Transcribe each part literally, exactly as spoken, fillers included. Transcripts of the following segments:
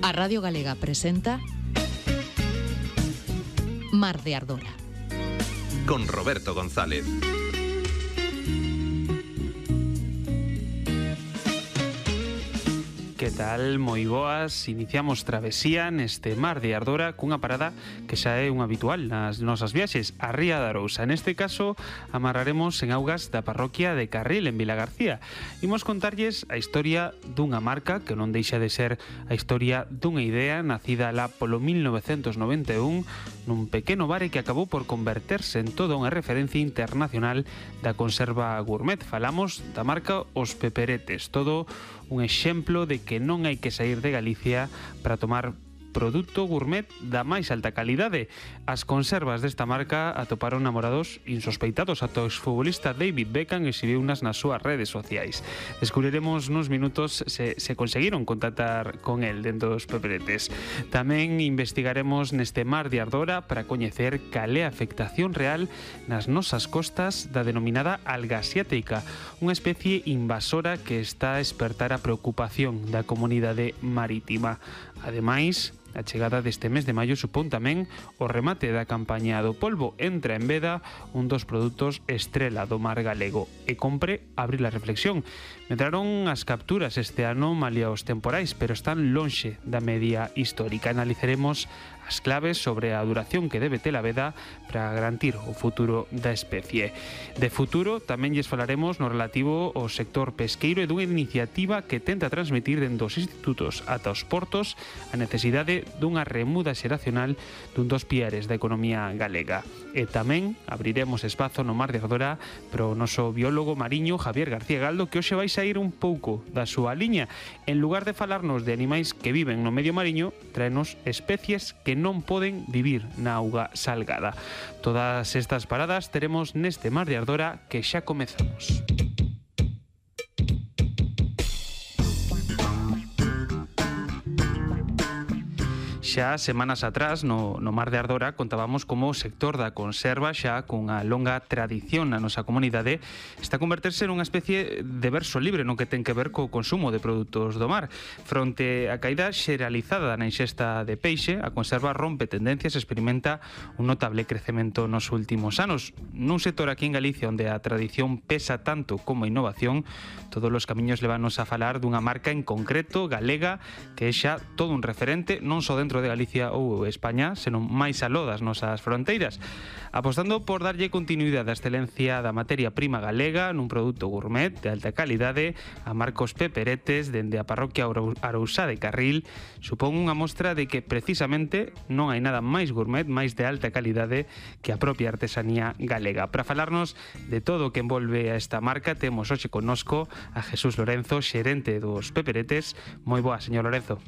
A Radio Galega presenta Mar de Ardora con Roberto González. Que tal? Moi boas, iniciamos travesía neste Mar de Ardora cunha parada que xa é un habitual nas nosas viaxes, a Ría de Arousa. Neste caso, amarraremos en augas da parroquia de Carril, en Vilagarcía. Imos contarlles a historia dunha marca que non deixa de ser a historia dunha idea nacida lá polo mil novecentos noventa e un nun pequeno bar que acabou por converterse en toda unha referencia internacional da conserva gourmet. Falamos da marca Os Peperetes, todo un exemplo de que non hai que sair de Galicia para tomar produto gourmet da máis alta calidade. As conservas desta marca atoparon namorados insospeitados. Ata o exfutbolista David Beckham exhibiunas nas súas redes sociais. Descubriremos nos minutos se, se conseguiron contactar con el dentro dos Peperetes. Tamén investigaremos neste Mar de Ardora para coñecer cal é a afectación real nas nosas costas da denominada alga asiática, unha especie invasora que está a espertar a preocupación da comunidade marítima. Ademais, a chegada deste mes de maio supón tamén o remate da campaña do polvo. Entra en veda un dos produtos estrela do mar galego e compre abrir a reflexión. Medraron as capturas este ano malia os temporais, pero están lonxe da media histórica. Analizaremos as claves sobre a duración que debe ter a veda para garantir o futuro da especie. De futuro tamén lles falaremos no relativo ao sector pesqueiro e dunha iniciativa que tenta transmitir dentro dos institutos ata os portos a necesidade dunha remuda xeracional dun dos piares da economía galega. E tamén abriremos espazo no Mar de Ardora para o noso biólogo mariño Javier García Galdo, que hoxe vai sair un pouco da súa liña. En lugar de falarnos de animais que viven no medio mariño, traenos especies que non poden vivir na auga salgada. Todas estas paradas teremos neste Mar de Ardora que xa comezamos. Xa semanas atrás no, no Mar de Ardora contábamos como o sector da conserva, xa cunha longa tradición na nosa comunidade, está a converterse nunha especie de verso libre no que ten que ver co consumo de produtos do mar. Fronte á caída xeralizada na ingesta de peixe, a conserva rompe tendencias e experimenta un notable crecemento nos últimos anos. Nun sector aquí en Galicia onde a tradición pesa tanto como a innovación, todos os camiños levanos a falar dunha marca en concreto, galega, que é xa todo un referente, non só dentro de Galicia ou España, senón máis aló das nosas fronteiras, apostando por darlle continuidade á excelencia da materia prima galega nun produto gourmet de alta calidade. A marca Os Peperetes, dende a parroquia Arousá de Carril, supón unha mostra de que precisamente non hai nada máis gourmet, máis de alta calidade que a propia artesanía galega. Para falarnos de todo o que envolve a esta marca, temos hoxe connosco a Jesús Lorenzo, xerente dos Peperetes. Moi boa, señor Lorenzo.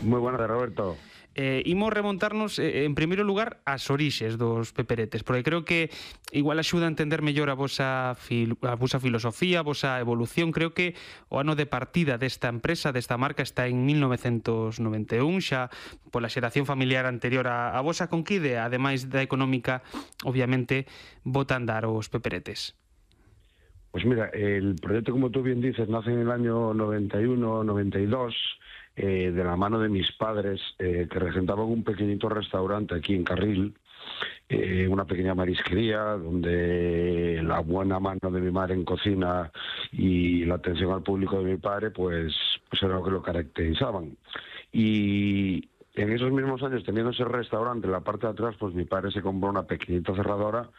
Moi buenas, Roberto. Eh, imos remontarnos, eh, en primeiro lugar, ás orixes dos Peperetes, porque creo que igual axuda a entender mellor a vosa, fil a vosa filosofía, a vosa evolución. Creo que o ano de partida desta empresa, desta marca, está en mil novecentos noventa e un, xa pola xeración familiar anterior a, a vosa conquide, ademais da económica, obviamente, bota a andar os Peperetes. Pues mira, el proyecto, como tú bien dices, nace en el año noventa y uno, noventa y dos, eh, de la mano de mis padres, eh, que regentaban un pequeñito restaurante aquí en Carril, eh, una pequeña marisquería, donde la buena mano de mi madre en cocina y la atención al público de mi padre, pues, pues era lo que lo caracterizaban. Y en esos mismos años, teniendo ese restaurante en la parte de atrás, pues mi padre se compró una pequeñita cerradora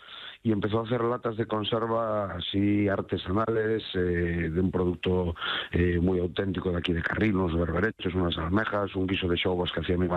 y empezó a hacer latas de conserva así artesanales, eh, de un producto eh, muy auténtico de aquí de Carril, unos berberechos, unas almejas, un guiso de xogos que hacía mi madre